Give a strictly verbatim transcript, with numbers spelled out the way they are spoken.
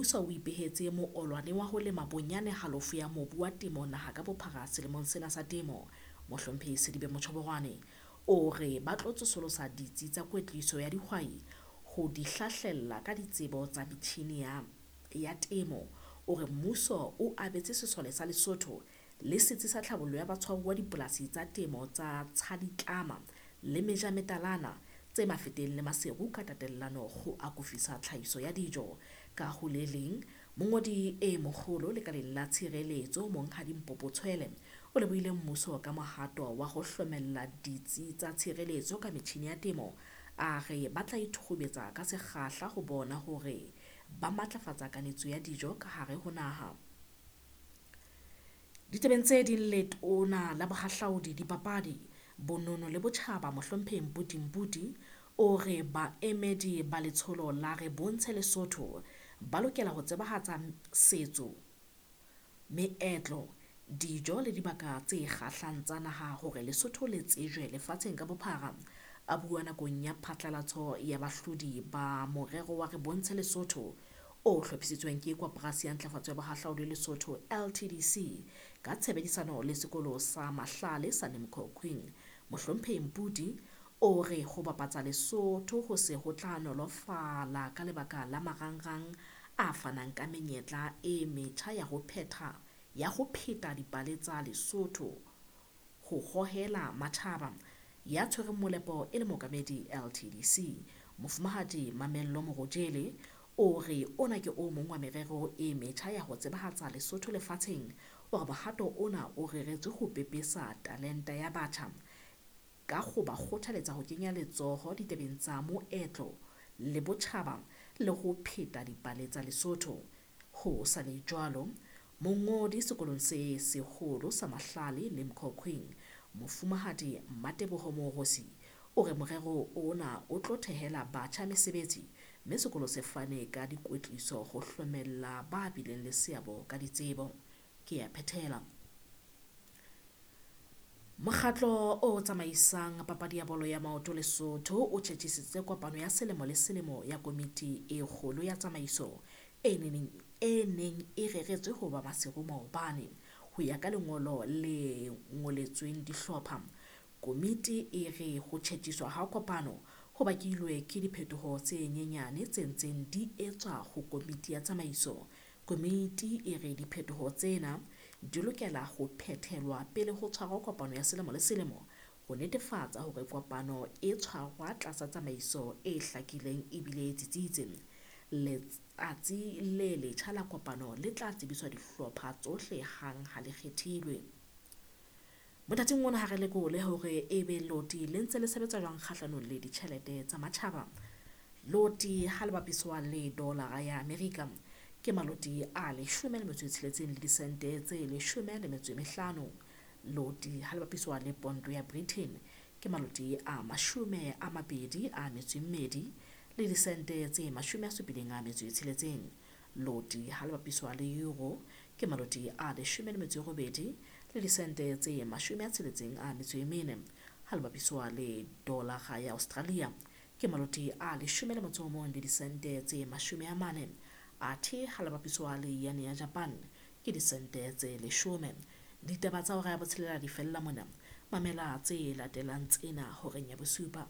mmuso o ipehetse moolwane wa ho lema bonyane halofo ya mobu wa temo naha ka bophara selemong sena sa temo. Mohlomphehi Selibe Mochoboroane o re ba tlo tsosolosa ditsi tsa kwetliso ya dihwai ho di hlahlella ka ditsebo tsa metjhine ya, ya temo. O re mmuso o abetse sesole sa Lesotho le setsi sa tlhabollo ya batshwaruwa dipolasi tsa temo tsa Tshaditlama le Mejametalana tse Mafeteng le Maseru ka tatellano ho akofisa tlhahiso ya dijo. Ka ho le leng, mongodi e moholo lekaleng la tshireletso Monghadi Mpopo Tshwele o lebohile mmuso ka mohato wa ho hlomella ditsi tsa tshireletso ka metjhine ya temo. A re ba tla ithukhubetsa ka sekgahla ho bona hore ba matlafatsa kanetso ya dijo ka hare ho naha. Ditabeng tse ding, letona la bohahlaudi, dipapadi, bonono le botjhaba Mohlomphehi Mputi Mputi o re baemedi ba letsholo la Re Bontshe Lesotho ba lokela ho tsebahatsa setso, meetlo, dijo le dibaka tse kgahlang tsa naha hore Lesotho le tsejwe lefatsheng ka bophara. A bua nakong ya phatlalatso ya bahlodi ba morero wa Re Bontshe Lesotho o hlophisitsweng ke Koporasi ya Ntlafatso ya Bohahlaudi Lesotho L T D C ka tshebedisano le sekolo sa Mahlale sa Limkokwing. Mohlomphehi Mputi o re ho bapatsa Lesotho ho se ho tla nolofala ka lebaka la marangrang a fanang ka menyetla e metjha ya ho phetha ya ho pheta dipale tsa Lesotho ho hohela matjhaba. Ya tshwereng molepo e le mookamedi L T D C Mofumahadi Mamello Morojele o re ona ke o mong wa merero e metjha ya ho tsebahatsa Lesotho lefatsheng. O re mohato ona o reretswe ho pepesa talenta ya batjha ka ho ba kgothaletsa ho kenya letsoho ditabeng tsa moetlo le botjhaba le ho pheta dipale tsa Lesotho. Ho sa le jwalo, mongodi sekolong se seholo sa Mahlale Limkokwing Mofumahadi Mmateboho Moorosi o re morero ona o tlo thehela batjha mesebetsi mme sekolo se fane ka dikwetliso ho hlomella ba bileng le seabo ka ditsebo. Ke a phethela. Mokgatlo o tsamaisang papadi ya bolo ya maoto Lesotho o tjhetjhisitse kopano ya selemo le selemo ya komiti e kgolo ya tsamaiso e neng e neng e reretswe ho ba Maseru maobane. Ho ya ka lengolo le ngoletsweng dihlopha, komiti e re ho tjhetjhiswa ha kopano ho bakilwe ke diphetoho tse nyenyane tse ntseng di etswa ho komiti ya tsamaiso. Komiti e re diphetoho tsena di lokela ho phethelwa pele ho tshwarwa kopano ya selemo le selemo ho netefatsa hore kopano e tshwarwa tlasa tsamaiso e hlakileng ebile e tsitsitse. Letsatsi le letjha la kopano le tla tsebiswa dihlopha tsohle hang ha le kgethilwe. Mothating ona ha re lekole hore ebe loti le ntse le sebetsa jwang kgahlanong le ditjhelete tsa matjhaba. Loti ha le bapiswa le dolara ya Amerika ke maloti a leshome le metso e tsheletseng le disente tse leshome le metso e mehlano. Loti ha le bapiswa le ponto ya Britain ke maloti a mashome a mabedi a metso e mmedi le disente tse mashome a supileng a metso e tsheletseng. Loti ha le bapiswa le euro ke maloti a leshome le metso e robedi le disente tse mashome a tsheletseng a metso e mene. Ha le bapiswa le dolara ya Australia ke maloti a leshome le motso o mong le disente tse mashome a mane. Athe ha le bapiswa le yen ya Japan ke disente tse leshome. Ditaba tsa hora ya botshelela di fella mona. Mamela tse latelang tsena horeng ya bosupa.